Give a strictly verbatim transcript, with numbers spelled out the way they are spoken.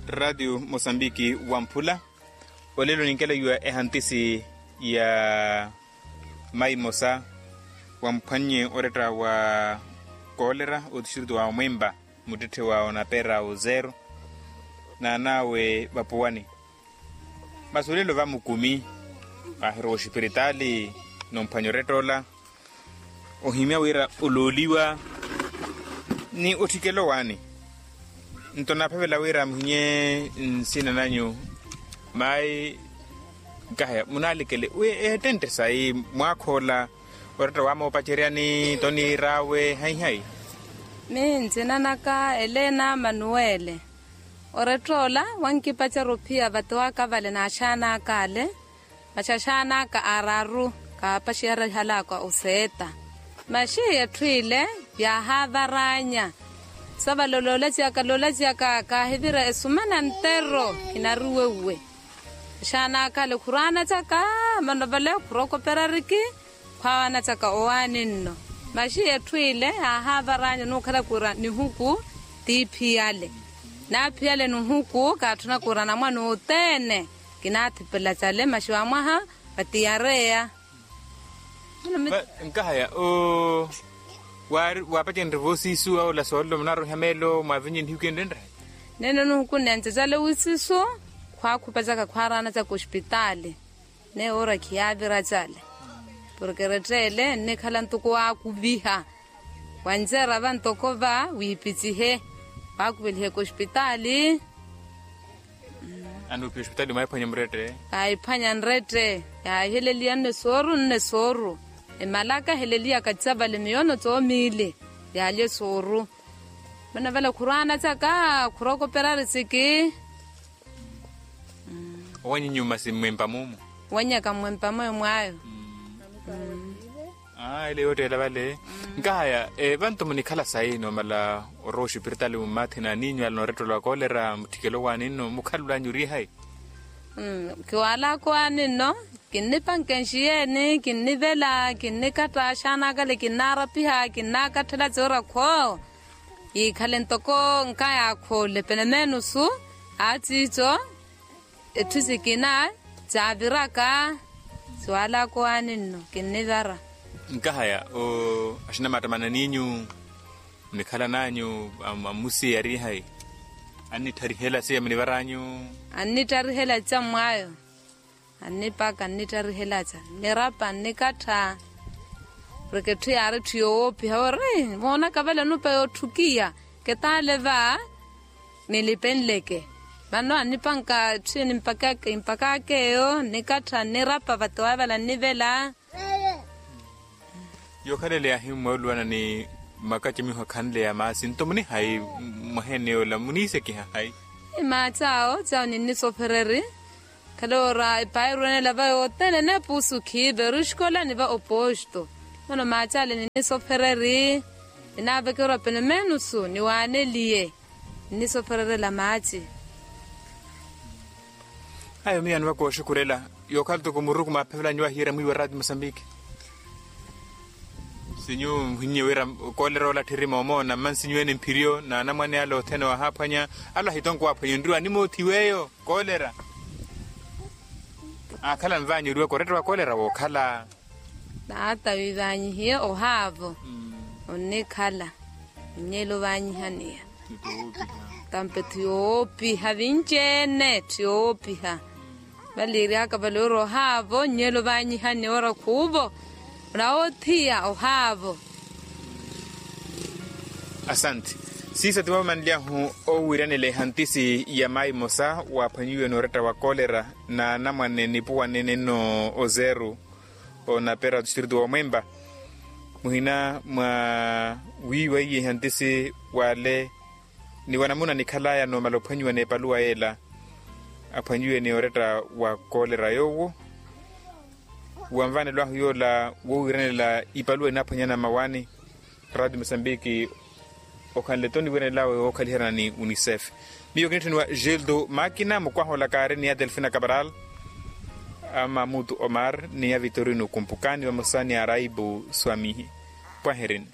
Ratio mosambiki wamphula. Olelo ninkelayiwa ehantisi ya mayi mosa wamphwannye oretta wa koolera otistritu wa omwempa, muttetthe wa onapera ozero, n'an'awe vapuwani. Masi olelo vamukumi vaahirowa oxipiritaali, nomphwanya oretta ola, ohimya wira olooliwa ni otthikela owaani. Nto naaphavela wira muhinye nsina nanyu, mayi nkahaya munaalekele wi eettentte sayi mwaakhoola oretta waamopaceryani toniir'awe hayi hayi. Mihi nsina naka elena manuwele. Oretta ola wankipacerya ophiya vate waka vale n'axaan'aka ale. Masi axaan'aka aararu kaapaxiyara ihal'aka oseetta. Masi etthu ile yaahaavaraanya. Sa vale oloolaciyaka loolaciyaka kaahivira esumana ntero. Kinaruwewwe. Axaan'aka ale khuraanacaka. Mano vale khurokoperariki. Khwaawanacaka owaani nno. Masi etthu ile yaahaavaraanya onuukhala kura nihuku tiiphiyale. Naaphiyale nihuku kaatthuna kura namwana othene. Kinaathipela cale masi wamwaha vatiyareya. Nkahaya o waapacenrye voosiisu awola soolelo munaaroiha meelo mwaavinye nihiku enrenre. Nene nuhukunne ncacale wisisu. Khwaakhupacaka khwaaraanacaka ospitaali. Neyo ora khiyaavira cale. Porke retteele nnikhala ntuku waakuviha. Wanceera va ntoko va wiipicihe. Waakuveliheke ospitaali. Anuupiha ospitaali mwaiphwanya murette. Kaayiphwanya nrette. Yaahiheleliya nne sooru nne sooru. Emalaka eheleliyaka cavale miyono coomiili. Yaalye sooru. Mano vale khurwaana caka khurokopera risiki. Owanyinyu masi mmwempa mumu. Owanyaka mmwempa mwe mwaayo. Aa ele yoottela vale. Nkahaya vantu munikhala sayi noomala orowa oxipiritaali mummathina aninyu ala noorettola wa koolera mutthikelo waani nno mukhalulanyu ori hayi? Kiwaalaka owaani nno. Kinnipanke nxiyeeni kinnivela kinnikatta axaana akale kinnaarapiha kinnaakatthela coora khwo. Yiikhale ntoko nkaya akhoole pene meenusu. Aaciico etthu sikina caaviraka. Siwaalaka owaani nno kinnivara. Nkahaya axinamaattamanani inyu munikhalan'anyu amusi yarihayi? Annittarihela siya munivaranyu. Annittarihela cammwaayo. Annipaka annittarihelaca nnirapa nnikattha. Porke etthu yaari etthu yoowoopiha ori moonaka vale onupa yootthukiya. Ketaale va nilipenleke. Vano annipanka etthu nimpakaka eyo nnikattha nnirapa vate waavala nnivela. Yookhalele yaahimmwa oluwana ni makaci miho akhanle ya maasi nto munihayi? Mwaheene yoola muniisekiha hayi? Imaaci awo cawo ninnisofereri. Khale ora epairu enela va yothene eneepusu khiive ori oxikolani va oposto. Mano maaci ale ninnisofereri. Ninaaveke ora pene meenusu niwaaneliye. Nnisofererela maaci. Ayo miyo anivaka oxukurela. Yookhala toko muruku maaphevelani wahiyerya mwiiwa raati mosambiki. Sinyu muhinnye wira koolera ola tthiri moomoona mma nsinyu ene mphiriyo n'anamwane ale othene waahaaphwanya. Ale ahitonko waaphwanya onriwa animoothiwa eyo koolera. Aakhala nvaanyeriwaka oretta wa koolera wookhala. Taata wiivaanyihiye ohaavo. Onnikhala. Onnyela ovaanyihaniya. Tampe thiyoopiha vinci-ene thiyoopiha. Valiiryaka vale ori ohaavo onnyela ovaanyihaniya ora khuuvo. Onawoothiya ohaavo. Asante. Siisa ti mwamanly'ahu owiiranela ehantisi ya mayi mmosa waaphwanyiwe n'oretta wa koolera n'anamwane nipuwanene nno ozeru. Onapera otistritu w'omwempa muhina mwa wiiwa iye ehantisi w'ale ni wanamuna nikhalaya noomala ophwanyiwa n'epaluwa yeela. Aphwanyiwe ni oretta wa koolera yoowo wanvanelo ahu yoola wowiiranela ipaluwa inaaphwanyana mmawaani. Raatiyo mosambiki okhanle-tho oniwiranel'awe wookhaliherana ni unicef. Miyo kinitthuniwa gildo makina mukwaha ola kaari ni ya delfina cabral, amamutu omar ni ya vitorino kumpukani vamosa ni araibu swamihi. Pwaherini.